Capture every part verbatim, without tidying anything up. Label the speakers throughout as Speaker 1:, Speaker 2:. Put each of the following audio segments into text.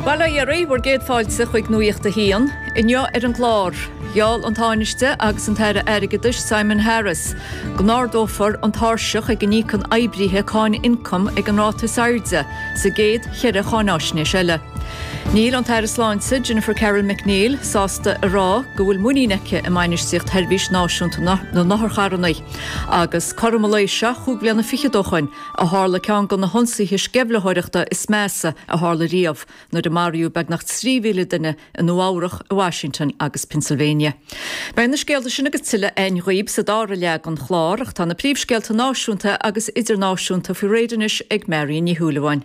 Speaker 1: Bail ó Dhia oraibh, bhur gcéad fáilte chuig Nuacht a hAon, inniu ar an gclár. Gheall an Tánaiste agus an tAire Airgeadais Simon Harris go n-ardófar an tairseach ag a n-íocann oibrithe cáin ioncaim ag an ráta is airde sa gcéad cheithre cháinaisnéis eile. Níl an tAire Sláinte Jennifer Carroll MacNeill sásta a rá go bhfuil muinín aici i mbainistíocht Sheirbhís Náisiúnta na nOtharcharranna agus cothrom an lae seo chúig bliana fichead ó shin a tharla ceann de na hionsaithe sceimhlitheoireachta is measa a tharla riamh nuair a maraíodh beagnach trí mhíle duine i Nua-Eabhrac, i Washington agus Pennsylvania. Beidh na scéalta sin agus tuilleadh againn dhaoibh sa dara leath den chlár ach tá na príomhscéalta náisiúnta agus idirnáisiúnta faoi réir anois ag Marion Ní Shúilleabháin.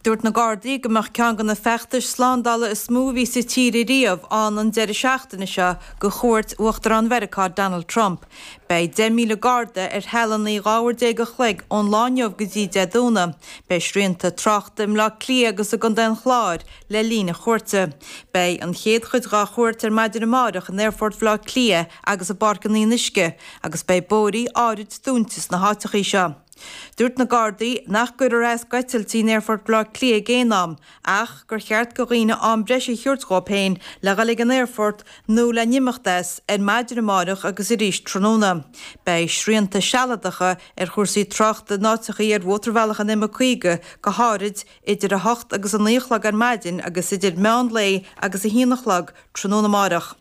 Speaker 2: Dúirt na Gardaí go mbeadh ceann de na feachtais slándála is mó a bhí sa tír riamh ann an deireadh seachtaine seo do chuairt Uachtarán Mheiriceá Donald Trump. Beidh deich míle garda ar shealanna dhá uair déag a chloig ón lá inniu go dtí Dé Domhnaigh. Beidh srianta tráchta i mBleá Cliath agus i gContae an Chláir le linn a chuairte. Beidh an chéad chuid dá chuairt ar maidin amárach in Aerfort Bhaile Átha Cliath agus i bPáirc an Fhionnuisce agus beidh bóithre áirid dúnta sna háiteachaí seo. Dúirt na Gardaí nach gcuirfear as d'eitiltí in Aerfort Bhaile Átha Cliath ag aon am ach gur cheart do dhaoine am breise a thabhairt dhóibh féin le dhul ag an aerfort nó le n-imeacht as ar maidin amárach agus arís tráthnóna. Beidh srianta sealadacha ar chúrsaí tráchta in áiteachaí ar mhótarbhealach an M caoga go háirid idir a hocht agus a naoi a chlog ar maidin agus idir meán lae agus a haon a chlog tráthnóna amárach.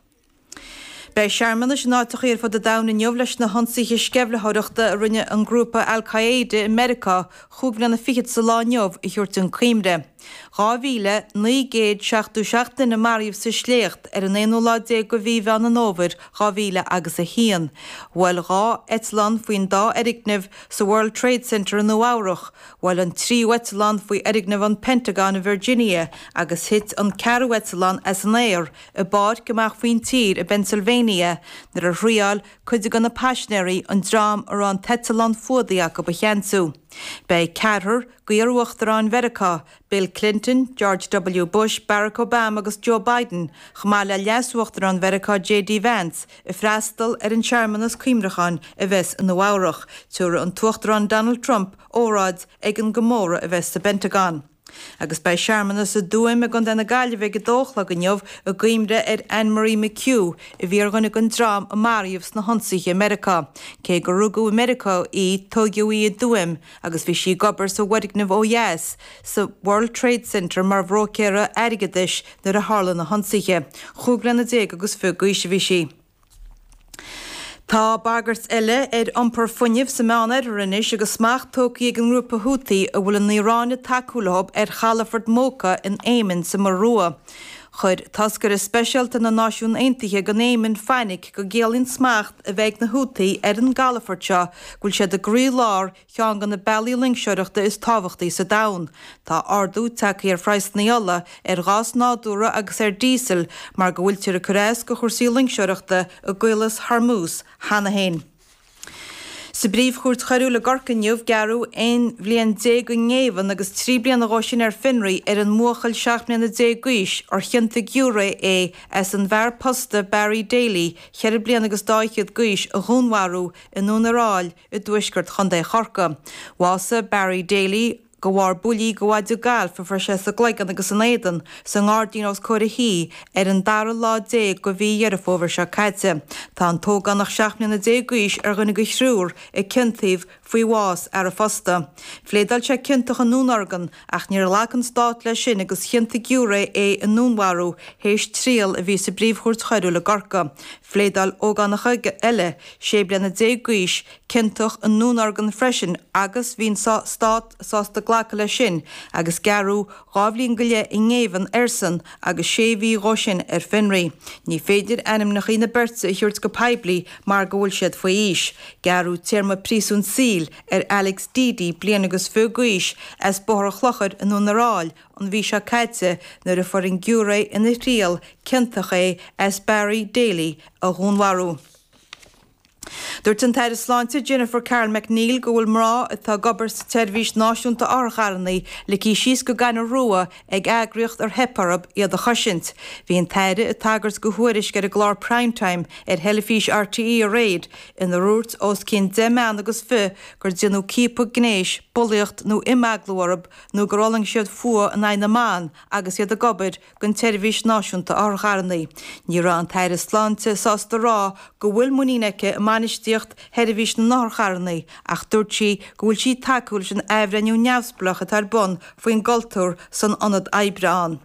Speaker 2: Beidh searmanais in áiteachaí ar fud an domhain inniu leis na hionsaithe sceimhlitheoireachta a rinne an grúpa Al-Qaeda i Meiriceá chúig bliana fichead sa lá inniu a thabhairt chun cuimhne. Dhá mhíle naoi gcéad seachtó seacht duine maraíodh sa sléacht ar an aonú lá déag de mhí Mheán an Fhómhair dhá mhíle agus a haon. Bhuail dhá eitleán faoin dá fhoirgneamh sa World Trade Center i Nua Eabhrach, bhuail an tríú eitleán faoi fhoirgneamh an Pentagon i Virginia agus thit an ceathrú eitleán as an aer i bpáirc amach faoin tír i bPennsylvania nuair a thriáil cuid de na paisinéirí an dream a raibh an t-eitleán fuadaithe acu a cheansú. Beidh ceathrar d'iar-uachtaráin Mheiriceá, Bill Clinton, George W. Bush, Barack Obama agus Joe Biden, chomh maith le leas-uachtarán Mheiriceá J.D. Vance, ag freastal ar an searmanas cuimhneacháin a bheas i Nua Eabhrach. Tabharfaidh an tUachtarán Donald Trump óráid ag an gcomóradh a bheas sa bPentagon. Agus beidh searmanas i dTuaim i gContae na Gaillimhe ag a dó a chlog inniu i gcuimhne ar Anne Marie McHugh a bhí ar dhuine den dream a maraíodh sna hionsaithe i Meiriceá. Cé gur rugadh i Meiriceá í, tógadh í i dTuaim agus bhí sí ag obair sa bhfoirgneamh ó dheas sa World Trade Center mar bhróicéara airgeadais nuair a tharla na hionsaithe. Chúig bliana déag agus fiche d'aois a bhí sí. Tá bagairt eile ar iompar fuinnimh sa Meánoirthear anois agus smacht tógtha ag an ngrúpa Houthi a bhfuil an Iaráin ag tacú leo ar chalafort Mocha in Éimin sa Muir Rua. Chuir toscaire speisialta na Náisiún Aontaithe don Éimin fainic go gciallaíonn smacht a bheith ag na Houthi ar an gcalafort seo go bhfuil siad i gcroílár cheann de na bealaí loingseoireachta is tábhachtaí sa domhan. Tá ardú tagtha ar phraghsanna ola, ar ghás nádúrtha agus ar díosal mar go bhfuiltear ag cur as do chúrsaí loingseoireachta i gCaolas Hormuz cheana féin. Sa bPríomh-Chúirt Choiriúil i gCorcaigh inniu, gearradh aon bhliain déag i ngéibheann agus trí bliana dhó sin ar fionraí ar an mbuachaill seacht mbliana déag d'aois ar chiontaigh giúiré é as an bhfear posta Barry Daly, ceithre bliana agus dá fhichead d'aois, a dhúnmharú i nDún ar Aill i dtuaisceart Chontae Chorcaí. Bhásaigh Barry Daly de bharr buillí de mhaide gailf a fuair sé sa gcloigeann agus san éadan sa ngairdín os comhair a thí ar an dara lá déag de mhí Dheireadh Fómhair seo caite. Tá an t-ógánach seacht mbliana déag d'aois ar dhuine de thriúr a ciontaíodh faoi bhás fhear an phosta. Phléadáil sé ciontach i ndúnorgain ach níor ghlac an stát leis sin agus chiontaigh giúiré é i ndúnmharú théis triail a bhí sa bPríomh-Chúirt Choiriúil i gCorcaigh. Phléadáil ógánach eile, sé bliana déag d'aois, ciontach i ndúnorgain freisin agus bhí an stát sásta glacadh leis sin agus gearradh dhá bhliain go leith i ngéibheann airsean agus sé mhí dhó sin ar fionraí. Ní féidir ainmneacha na beirte a thabhairt go poiblí mar go bhfuil siad faoi aois. Gearradh téarma príosúin saoil ar Alex Deady, bliain agus fiche d'aois, as Bóthar an Chlochair i nDún ar Aill an mhí seo caite nuair a fuair an giúiré ina thriail ciontach é as Barry Daly a dhúnmharú. Dúirt an tAire Sláinte Jennifer Carroll MacNeill go bhfuil mná atá ag obair sa tseirbhís náisiúnta otharcharranna ligthe síos go gaineamh rua ag eagraíocht ar theip orthu iad a chosaint. Bhí an tAire ag tagairt do thuairisc ar an gclár Primetime ar theilifís RTÉ aréir inar dúirt os cionn deich mbean agus fiche gur déanadh ciapadh gnéis, bulaíocht nó imeaglú orthu nó gur fhulaing siad fuath in aghaidh na mban agus iad ag obair don tseirbhís náisiúnta otharcharranna. Ní raibh an tAire Sláinte sásta rá go bhfuil muinín aici i mbainistíocht sheirbhís na n-otharcharranna ach dúirt sí go bhfuil sí tacúil leis an athbhreithniú neamhspleách atá ar bun faoin gcultúr san ionad oibre ann.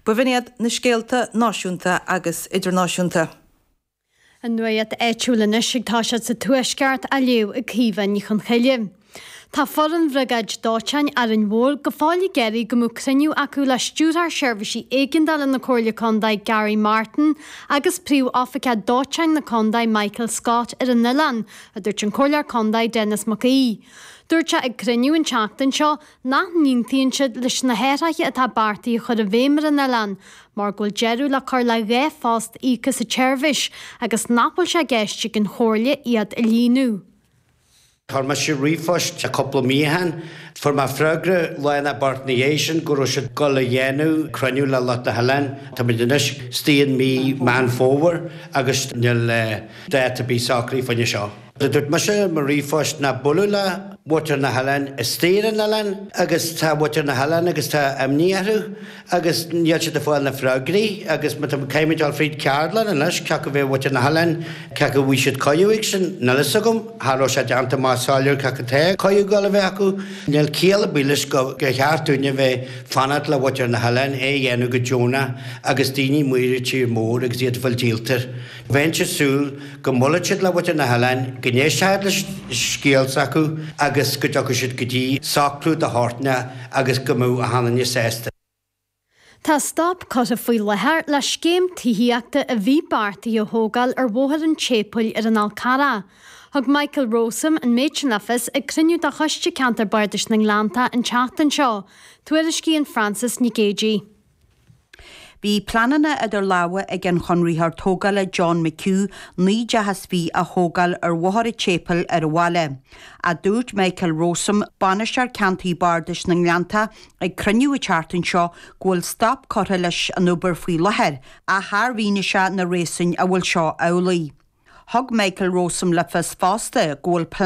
Speaker 2: B'in iad na scéalta náisiúnta agus idirnáisiúnta.
Speaker 3: An nuacht áitiúil anois ag toiseacht sa Tuaisceart á léamh ag Caoimhe Ní Chonchoille. Tá foireann Bhriogáid Dóiteáin Árainn Mhór go fóill ag iarraidh go mbeadh cruinniú acu le Stiúrthóir Seirbhísí Éigeandála na Comhairle Contae Gary Martin agus Príomhoifigeach Dóiteáin na Contae Michael Scott ar an oileán, a dúirt an Comhairleoir Contae Denis Mac Aoidh. Dúirt sé ag cruinniú an tseachtain seo nach n-aontaíonn siad leis na hathruithe atá beartaithe a chur i bhfeidhm ar an oileán, mar go bhfuil deireadh le cur le dhá phost íoctha sa tseirbhís agus nach bhfuil sé i gceist ag an Chomhairle iad a líonadh.
Speaker 4: Chuir mise ríomhphost cúpla mí ó shin. Fuair mé freagra lá nó beirt ina dhiaidh sin go raibh siad ag dul a dhéanamh cruinniú le lucht na hoileáin. Táimid anois istigh in mí Meán Fómhair agus níl dáta ar bith socraithe faoina seo. Dúirt mise i mo ríomhphost ná bualadh le muintir na hoileáin istigh ar an oileán agus tá muintir na hoileáin agus tá imní orthu agus níl siad ag fáil na freagraí agus má tá caithfimid dul fríd ceardlann anois cé acu bheith muintir na hoileáin cé acu bhfuil siad cuireadh ag sin níl fhios agam cha raibh sé déanta amach soiléir cé acu tá cuireadh dul a bheith acu níl ciall ar bith leis go gur cheart dúinne bheith fanacht le muintir na hoileáin é a dhéanamh go deonach agus daoine amuigh ar tír mór agus iad ag fáil díoltar. Bheinnse ag súil go mbuailfeadh siad le muintir na hoileáin, go n-éistfeadh leis scéal s'acu agus go dtiocfadh siad go dtí socrú de shórt agus go mbeadh achan duine sásta.
Speaker 3: Tá stop curtha faoi láthair le scéim tithíochta a bhí beartaithe a thógáil ar Bhóthar an tSéipéil ar an Fhál Carrach. Thug Michael Rowsome an méid sin le fios ag cruinniú de Choiste Ceantair Bardais na nGleannta an tseachtain seo, tuairiscíonn Frances Nic Géadaigh.
Speaker 5: Bhí pleananna idir lámha ag an chonraitheoir tógála John McHugh naoi dteach is fiche a thógáil ar Bhóthar an tSéipéil ar an bhaile. Ach dúirt Michael Rowsome, bainisteoir ceantair Bardais na nGleannta, ag cruinniú an tseachtain seo go bhfuil stop curtha leis an obair faoi láthair ach char mhínigh sé na réasúin a bhfuil seo amhlaidh. Thug Michael Rowsome le fios fosta go bhfuil